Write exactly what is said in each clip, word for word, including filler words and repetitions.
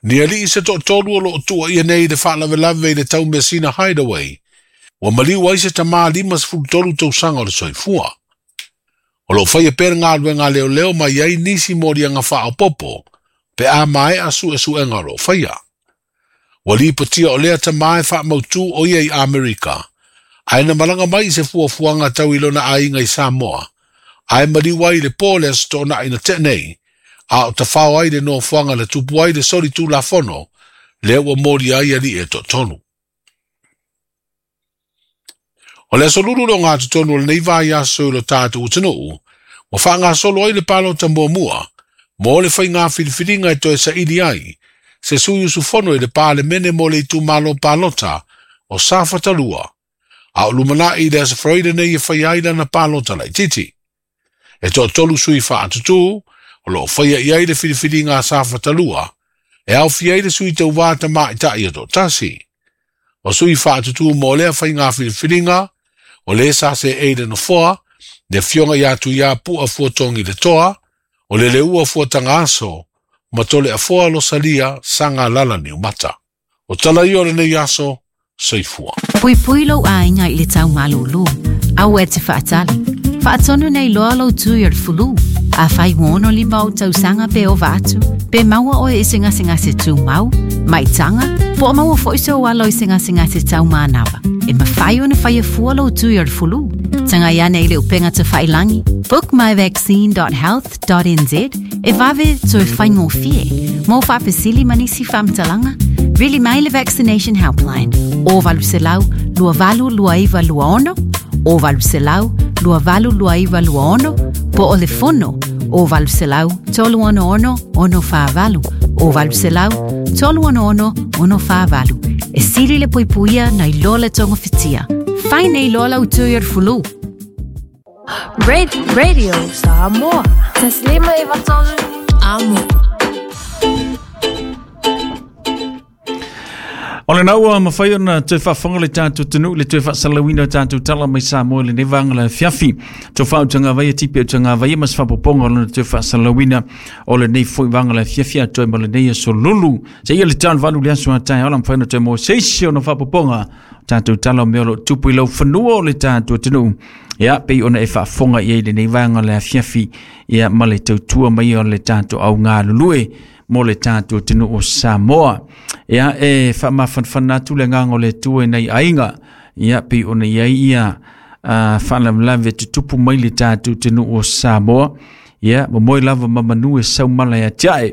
Ni alii se toʻatolu o loo tuuaia nei i le faalavelave i le taumeasina Hideaway, ua maliu ai se tamā limasefulutolu tausaga o le soifua. O loo faia pea le galuega a leoleo ma i ai nisi moliaga faaopopo pe a maea suesuega o loo faia. Ua lipotia o lea tamā e faamautū o ia i Amerika, ae na malaga mai i se fuafuaga tau i lona aiga i Samoa, ae maliu ai i le po le Aso Toonai na tea nei, a o tafao ai le nofoaga na tupu ai le soli tulafono, lea ua molia ai alii e toatolu. O le aso lulu le ogatotonu o lenei vaiaso i lo tatou atunuu, ua faagasolo ai le palota muamua, mo le faiga filifiliga e toe saili ai, se sui usufono i le Palemene mo le itumalo palota o Safatalua, a o lumanai i le Aso Faraile nei e faia ai lana palota laitiiti. E toatolu sui faatutū, o loo faia i ai le filifiliga a Safatalua, e aofia ai le sui tauvā tamaita'i e toatasi. O sui faatutū mo lea faiga filifiliga, o le sa seei le nofoa, le afioga ia Tuiapu'a Fuatogi le Toa, o le Leua Fuatagaaso, ma Toleafoa Losalia Sagalala Niumata. O tala ia o lenei aso, soifua. Puipui lou aiga i le taumalūlū, aua e te faatali. Faatonu nei loa lou tui o le fulu. Afai ua ono lima ou tausaga pe ova atu, pe maua oe i se gasegase tumau, maitaga, po o maua foi sou alo i se gasegase taumanava. E mafai ona faia fua lou tui o le fulu. Tagai ane i le upega tafailagi, book my vaccine dot health dot n z e vave toe faigofie. Mo faafesili ma nisi faamatalaga, vili mai le Vaccination Helpline o valu selau lua valu lua iva lua ono, o valu selau lua valu lua iva lua ono, po o le fono o valu selau tolu ono ono ono whaavalu, o valu selau tolu ono ono ono whaavalu. E sili le puipuia nei loa le tonga whitia. Fai nei loa lau tui o le fulu. Red Radio Samoa. Taslima e vatolu. Amo. O le naua mawhai ona te whawhanga le tātou tunu, le te whasalawina o tātou tala mai Samoa le nevanga le fiafi. Tō whautanga vaia tipe o tanga vaia mas whapoponga o le te whasalawina o le nei foi vanga le fiafi a toi ma le nei aso lulu. Se ia le tān valu le aso a tai ola mwhai na te mō seisi o na whapoponga tātou tala o mea lo tupu i lau whanua o le tātou tunu. Ia, pei ona e whaafonga i ei le nei vanga le fiafi ia ma le tautua mai o le tātou au ngā lulue mo le tātou tunu o Samoa. Ia, e whaamafanfana atu le nganga o le tue nei ainga. Ia, pei ona ia ia uh, whaalavelave tutupu mai le tātou tunu o Samoa. Ia, mo moi lava mamanu e saumala ia tiae.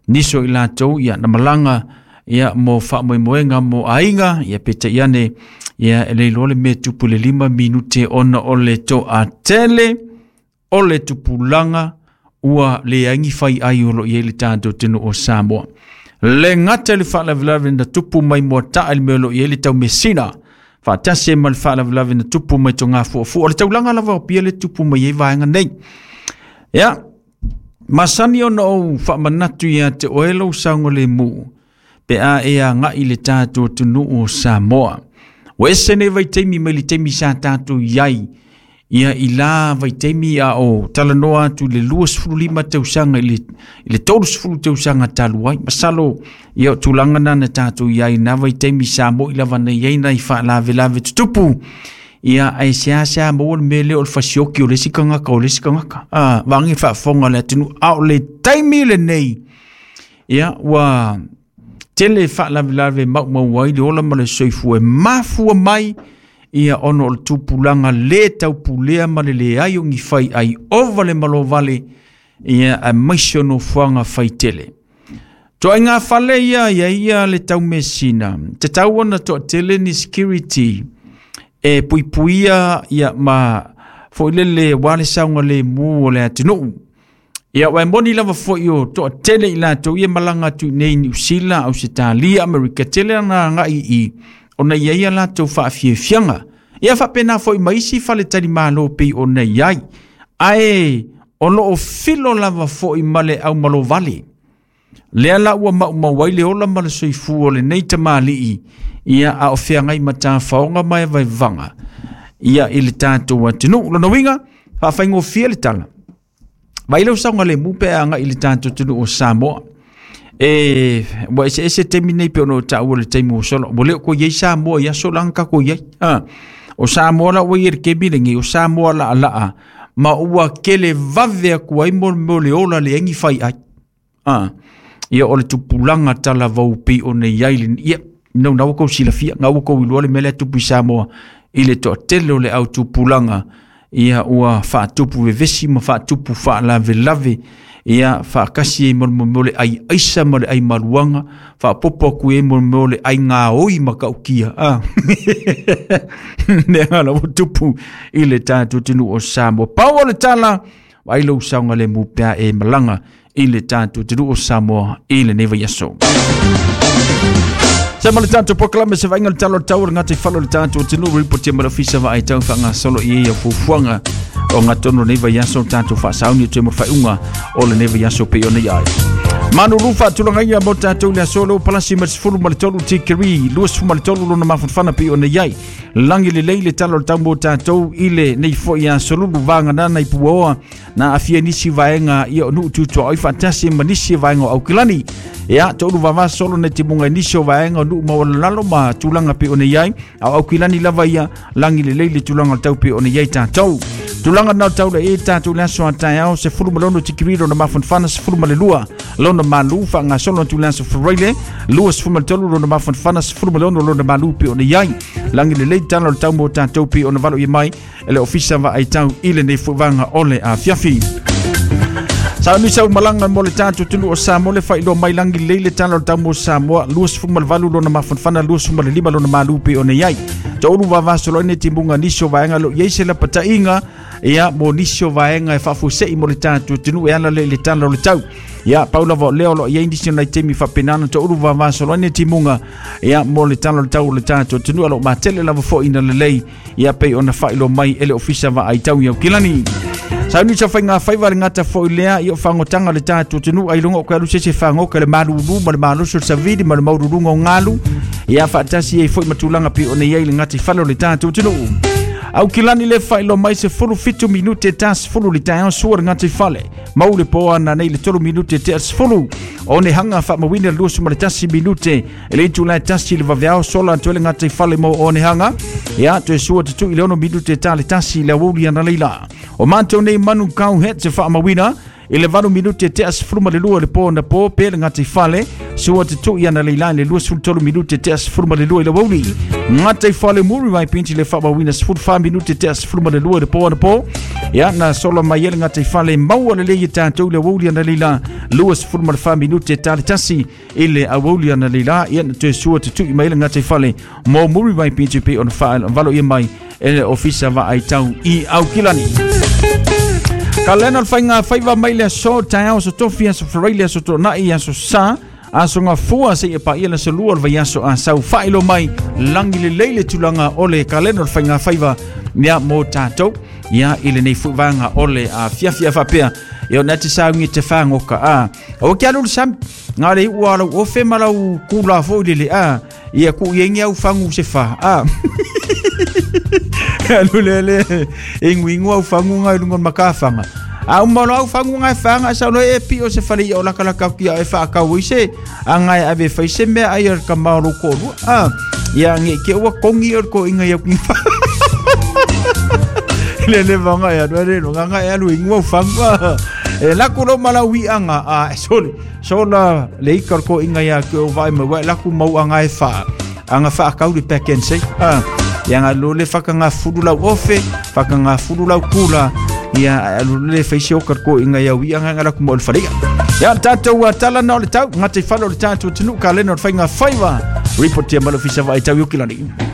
Niso i lātou, ia, na malanga, ia, mo whaamoemoenga mo ainga. Ia, peta iane, ia, e leilo le me tupu le lima minute ona o le to a tele, o le tupulanga, ua le aingi whai ai o lo i le tātou tenu o Samoa. Le ngata le whaalavelave na tupu mai mua taa le mea lo i le tau mesina. Whaatase ma le whaalavelave na tupu mai tō ngā fuafua. O le taulanga lava o pia le tupu mai e vaenga nei. Ia, masani ona o whaamanatu ia te oelo saunga le mu. Pe a e a ngai le tātou tenu o Samoa. O ese nei vaitaimi mai le taimi sa tātou iai. Ia i la vaitaimi a o talanoa atu le luasefululima tausaga i le, i le tolusefulu tausaga talu ai. Masalo ia o tulaga na na tatou iai na vaitaimi sa mo'i lava nei ai nai faalavelave tutupu. Ia ae seasea maua le mea lea o le fasioki o le isi kagaka o le isi kagaka. A, vaagi faafofoga le atunuu a o le taimi lenei. Ia ua tele faalavelave maumau ai le ola ma le soifua e mafua mai ia ono o le tupulaga lē taupulea ma le leai o gifai ai ova le malovale ia aemaise o nofoaga faitele. Toaiga fale ia ia ia le taumesina tatau ona toatele ni security e puipuia ia ma foilele ua le sauga lemu o le atunuu. Ia ua e moni lava foi o toatele i latou ia malaga atu i nei Niu Sila, Ausetalia, Amerika tele ana agai i ona ia ia latou faafiafiaga. Ia faapena foi ma isi faletalimalo pei ona iai. Ae o loo filo lava foi ma le aumalovale. Lea la ua maumau ai le ola ma le soifua o lenei tamalii. Ia a o feagai ma tafaoga ma e vaivaga. Ia i le tatou atunuu. Lona uiga, faafaigofie le tala. Vai lau sauga lemu pe agai i le tatou atunuu o Samoa. E ua eseese taimi nei pe ona ou taʻua le taimi ua sola ua le o koe iai Samoa i aso laga kako iai a o Samoa la ua ia le kemi lenei o Samoa laʻalaʻa ma ua kele vave aku ai mo mo le ola le agi fai ai a ia o le tupulaga talavou pei ona iai le ia no na ua kou silafia ga ua kou iloa le mea lea tupu i Samoa i le toatele o le au tupulaga ia ua faatupu vevesi ma faatupu faalavelave ia faakasi ai mo mo le ai aisa ma le ai maluaga faapopo aku ai mo mo le ai gaoi ma kaukia a lea la ua tupu i le tatou atunuu o Samoa. Pau o le tala ai lou saoga le mu pea e malaga i le tatou atunuu o Samoa i lenei vaiaso. Sa ma le tatou polokalame se vaaiga le tala o le tau o le gata i falo o le tatou atunuu ripotia ma le ofisa vaai tau faagasolo i ai au fuafuaga o gatonu lenei vaiaso tatou faasauni o toe mo le faaiuga o lenei vaiaso pei ona iai. Manulu faatulagaina mo tatou le aso leo palasi ma le sefulu ma le tolu tikeri luasefulu ma le tolu lona mafanafana pei ona iai. Lagi lelei le tala o le tau mo tatou i lenei foi aso lulu vaganana i puaoa na aafia nisi vaega ia o nuu tutuaoi faatasi ma nisi vaega o Aukilani. Ia toʻulu vavasolo na timuga i nisi o vaega o nuu maualalalo ma tulaga pei ona iai a o Aukilani lava ia lagi lelei le tulaga o le tau pei ona iai tatou. Tulaga na o tau le e tatou le aso a taeao sefulu ma le ono tikeri lona mafanafana sefulu ma le lua lona malu faagasolo atu le aso Faraile luasefulu ma le tolu lona mafanafana sefulu ma le ono lona malu pei ona iai. Lagi lelei tala o le tau mo tatou pei ona valo ia mai e le ofisa vaai tau i lenei fuevaga o le afiafi. Sauni sau malaga mo le tatou atunuu o Samoa le faailoa mai lagi lelei le tala o le tau mo Samoa luasefulu ma le valu lona mafanafana luasefulu ma le lima lona malu pei ona iai. Toʻulu vavasolo ai nei timuga nisi o vaega o loo iai se lapataʻiga ia mo nisi o vaega e faafuaseʻi mo le tatou atunuu e ala lea i le tala o le tau. Ia pau lava o lea o loo iai nisi o nai taimi faapenana toʻulu vavasolo ai nei timuga ia mo le tala o le tau o le tatou atunuu a loo matele lava foʻi ina lelei ia pei ona faailoa mai e le ofisa vaai tau i Aukilani. Sauni sa faiga faiva le gata foʻi lea ia o fagotaga le tatou atunuu ai luga o koe alu se se fagoka le malulu ma le malosi o le savili ma le maululuga o galu ia faatasi ai foi ma tulaga pei ona iai le gata i fale o le tatou atunuu. Aukilani le faailoa mai sefulu fitu minute ta sefulu le taeao sua le gata i fale mau le poa na nei le tolu minute tea sefulu o ne hanga faamauina le luasefulu ma le tasi minute e le itulā tasi le vaveao sola atu ai le gata i fale mo o ne hanga ia toe sua tutuʻi le ono minute ta le tasi le aoauli ana leila. O matou nei manu kau het se faamauina i le valu minute tea sefulu ma le lua le po na po pe le gata i fale sua tutuʻi ana leila i le luasefulu tolu minute tea sefulu ma le lua i le aoauli. Gata i fale muri mai pinti le faamauina sefulu fa minute tea sefulu ma le lua le po na po ia na sola mai ai le gata i fale maua lelei e tatou le aoauli ana leila luasefulu ma le fa minute ta le tasi i le aoauli ana leila ia na toe sua tutuʻi mai le gata i fale mo muri mai pinti pe ona faavalo ia mai e le ofisa vaai tau i Aukilani. Kalena o le faiga faiva mai le aso taeao aso tofi aso Faraile aso Toonai aso Sa aso Gafua seia paia le aso lua o le vaiaso asau faailoa mai lagi lelei le tulaga o le kalena o le faiga faiva ia mo tatou ia i lenei fuevaga o le afiafi a faapea ia ona te saugi te fagoka a o ke alu le sami ga le iʻu a lau ofe ma lau kula foʻi le le a ia kuʻu iai au fagu se fa a alu le le e iguigu au faguga i luga o le makafaga a uma loa au faguga e faga sau loa e pio se fale ia o lakalaka aku ia e faakau ai se aga e ave fai se mea ai o le kama o lou koʻolua a ia ge ke ua kogi o le koʻiga i au le le vaga e alu ale logaga e alu igu au fagu a e laku lo ma lau iʻaga a sole sola le ika o le koʻiga ia ke o vaai mai ua e laku mau aga e faa aga faakau le pack and say a ia ga lo le fakagafulu lau ofe fakagafulu lau kula ia alu le faisi o ka koʻiga ia uiʻaga ga laku mo le faleia ia tatou tala na o le tau gata i fale o le tatou atunuu kalena o le faiga faiva ripotia ma le ofisa vaai tau i Aukilani.